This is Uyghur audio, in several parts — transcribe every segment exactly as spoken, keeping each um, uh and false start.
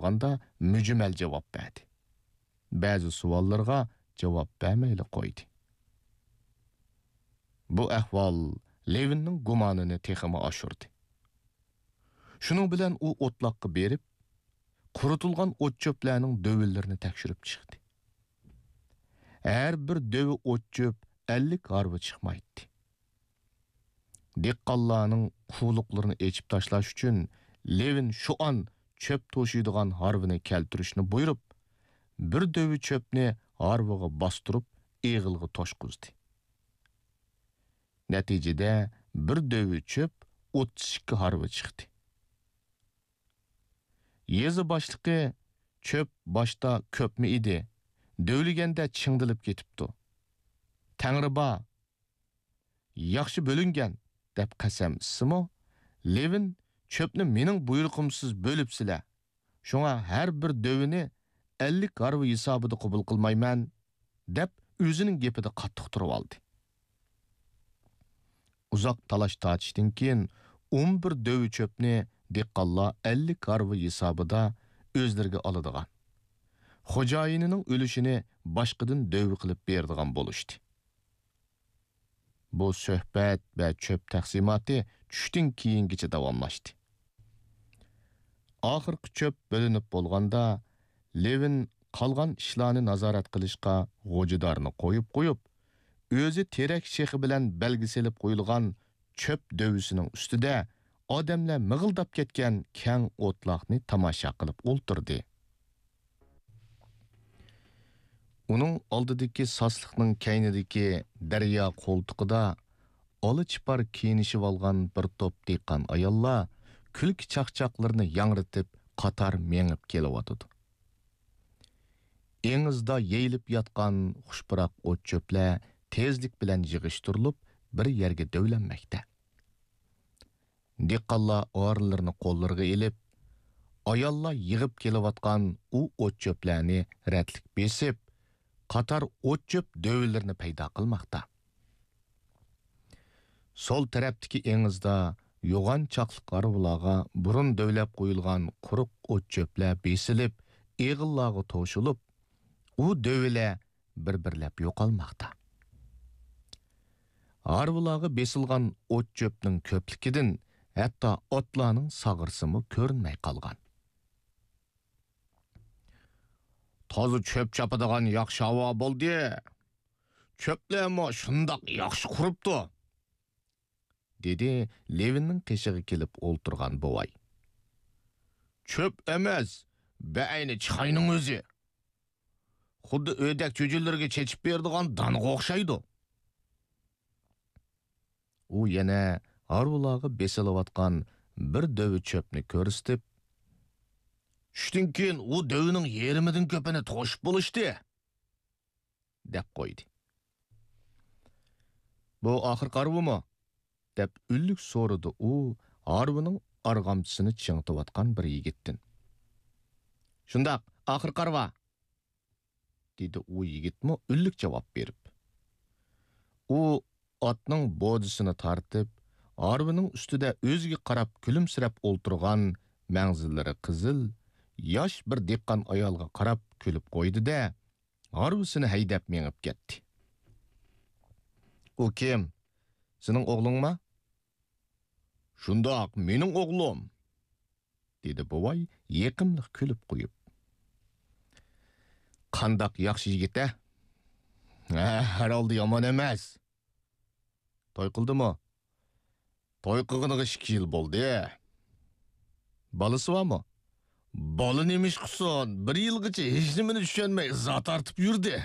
سورىغاندا مۈجمەل جاۋاب بەردى. بەزى سوئاللىرىغا جاۋاب بەرمەيلا قويدى. بۇ ئەھۋال لېۋىننىڭ گۇمانىنى تېخىمۇ ئاشۇردى. شۇنىڭ بىلەن ئۇ ئوتلاققا بېرىپ، قۇرۇتۇلغان ئوت-چۆپلەرنىڭ دۆۋىلىرىنى تەكشۈرۈپ چىقتى. ھەر بىر دۆۋە ئوت-چۆپ ئەللىك ھارۋا چىقمايتتى. دېھقانلارنىڭ قۇۋلۇقلىرىنى ئېچىپ تاشلاش ئۈچۈن لېۋىن شۇ ئان چۆپ توشۇيدىغان ھارۋىنى كەلتۈرۈشنى بۇيرۇپ، بىر دۆۋە چۆپنى ھارۋىغا باستۇرۇپ، ئېغىلغا توشقۇزدى. نەتىجىدە، بىر دۆۋە چۆپ ئوتتۇز ئىككى ھارۋا چىقتى. يېزا باشلىقى: «چۆپ باشتا كۆپمۇ ئىدى، دۆۋىلىگەندە چىڭدىلىپ كېتىپتۇ. تەڭرى بار، ياخشى بۆلۈنگەن» دەپ قەسەم ئىچسىمۇ، لېۋىن: «چۆپنى مېنىڭ بۇيرۇقۇمسىز بۆلۈپسىلەر، شۇڭا ھەر بىر دۆۋىنى ئەللىك ھارۋا ھېسابىدا قوبۇل قىلمايمەن» دەپ، ئۆزىنىڭ گېپىدە قاتتىق تۇرۇۋالدى. ئۇزاق تالاش-تارتىشتىن كېيىن، ئون بىر دۆۋە چۆپنى دېھقانلار ئەللىك ھارۋا ھېسابىدا ئۆزلىرىگە ئالىدىغان، خوجايىنىنىڭ ئۈلۈشىنى باشقىدىن دۆۋە قىلىپ بېرىدىغان بولۇشتى. بۇ سۆھبەت ۋە چۆپ تەقسىماتى چۈشتىن كېيىنگىچە داۋاملاشتى. ئاخىرقى چۆپ بۆلۈنۈپ بولغاندا، لېۋىن قالغان ئىشلارنى نازارەت قىلىشقا غوجىدارنى قويۇپ قويۇپ، ئۆزى تېرەك شېخى بىلەن بەلگە سېلىپ قويۇلغان چۆپ دۆۋىسىنىڭ ئۈستىدە ئادەملەر مىغىلداپ كەتكەن كەڭ ئوتلاقنى تاماشا قىلىپ ئولتۇردى. ئۇنىڭ ئالدىدىكى ساسلىقنىڭ كەينىدىكى دەريا قولتۇقىدا ئالا چىپار كىيىنىشىۋالغان بىر توپ دېھقان ئاياللار كۈلكە چاقچاقلىرىنى ياڭرىتىپ قاتار مېڭىپ كېلىۋاتىدۇ. ئېڭىزدا يېيىلىپ ياتقان خۇشپۇراق ئوت-چۆپلەر تېزلىك بىلەن يىغىشتۇرۇلۇپ، بىر يەرگە دۆۋىلەنمەكتە. دېھقانلار ئارىلىرىنى قوللىرىغا ئېلىپ، ئاياللار يىغىپ كېلىۋاتقان ئۇ ئوت-چۆپلەرنى رەتلىك بېسىپ، قاتار ئوت-چۆپ دۆۋىلىرىنى پەيدا قىلماقتا. سول تەرەپتىكى ئېڭىزدا يوغان چاقلىق ھارۋىلارغا بۇرۇن دۆۋىلەپ قويۇلغان قۇرۇق ئوت-چۆپلەر بېسىلىپ، ئېغىللارغا توشۇلۇپ، ئۇ دۆۋىلەر بىر-بىرلەپ يوقالماقتا. ھارۋىلارغا بېسىلغان ئوت-چۆپنىڭ كۆپلۈكىدىن ھەتتا ئاتلارنىڭ ساغرىسىمۇ كۆرۈنمەي قالغان. «تازا چۆپ چاپىدىغان ياخشى ھاۋا بولدى. چۆپلەرمۇ شۇنداق ياخشى قۇرۇپتۇ»، دېدى لېۋىننىڭ قېشىغا كېلىپ ئولتۇرغان بوۋاي. «چۆپ ئەمەس، بەئەينى چىخاينىڭ ئۆزى. خۇددى ئۆدەك چۈجىلىرىگە چېچىپ بېرىدىغان دانغا ئوخشايدۇ.» ئۇ يەنە ھارۋىلارغا بېسىلىۋاتقان بىر دۆۋە چۆپنى كۆرسىتىپ، «چۈشتىن كېيىن ئۇ دۆۋىنىڭ يېرىمىدىن كۆپىنى توشۇپ بولۇشتى» دەپ قويدى. «بۇ ئاخىرقى ھارۋىمۇ؟» دەپ ئۈنلۈك سورىدى ئۇ ھارۋىنىڭ ئارغامچىسىنى چىڭىتىۋاتقان بىر يىگىتتىن. «شۇنداق، ئاخىرقى ھارۋا»، دېدى ئۇ يىگىتمۇ ئۈنلۈك جاۋاب بېرىپ. ئۇ ئاتنىڭ بودىسىنى تارتىپ، ھارۋىنىڭ ئۈستىدە ئۆزىگە قاراپ كۈلۈمسىرەپ ئولتۇرغان، مەڭزىلىرى قىزىل، ياش بىر دېھقان ئايالغا قاراپ كۈلۈپ قويدى-دە، ھارۋىسىنى ھەيدەپ مېڭىپ كەتتى. «ئۇ كىم؟ سېنىڭ ئوغلۇڭما؟» «شۇنداق، مېنىڭ ئوغلۇم»، دېدى بوۋاي يېقىملىق كۈلۈپ قويۇپ. «قانداق ياخشى يىگىت-ە؟» «ھە، ھەر ھالدا يامان ئەمەس.» «توي قىلدىمۇ؟» «توي قىلغىنىغا ئىككى يىل بولدى.» «بالىسى بارمۇ؟» «بالا نېمە ئىش قىلسۇن، بىر يىلغىچە ھېچنېمىنى چۈشەنمەي ئىزا تارتىپ يۈردى.»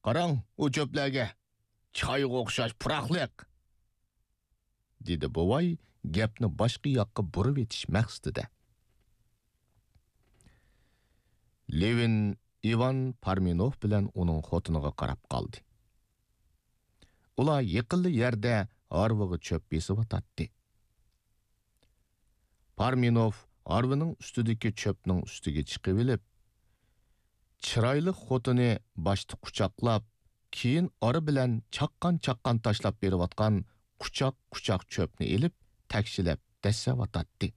«قاراڭ ئۇ چۆپلەرگە، چايغا ئوخشاش پۇراقلىق.» دېدى بوۋاي گەپنى باشقا ياققا بۇرۇۋېتىش مەقسىتىدە. لېۋىن ئىۋان پارمېنوف بىلەن ئۇنىڭ خوتۇنىغا قاراپ قالدى. ئۇلار يېقىنلا يەردە ھارۋىغا چۆپ بېسىۋاتاتتى. پارمېنوف ھارۋىنىڭ ئۈستىدىكى چۆپنىڭ ئۈستىگە چىقىۋېلىپ، چىرايلىق خوتۇنى باشتا قۇچاقلاپ، كېيىن ئارا بىلەن چاققان-چاققان تاشلاپ بېرىۋاتقان قۇچاق-قۇچاق چۆپنى ئېلىپ، تەكشىلەپ دەسسەۋاتاتتى.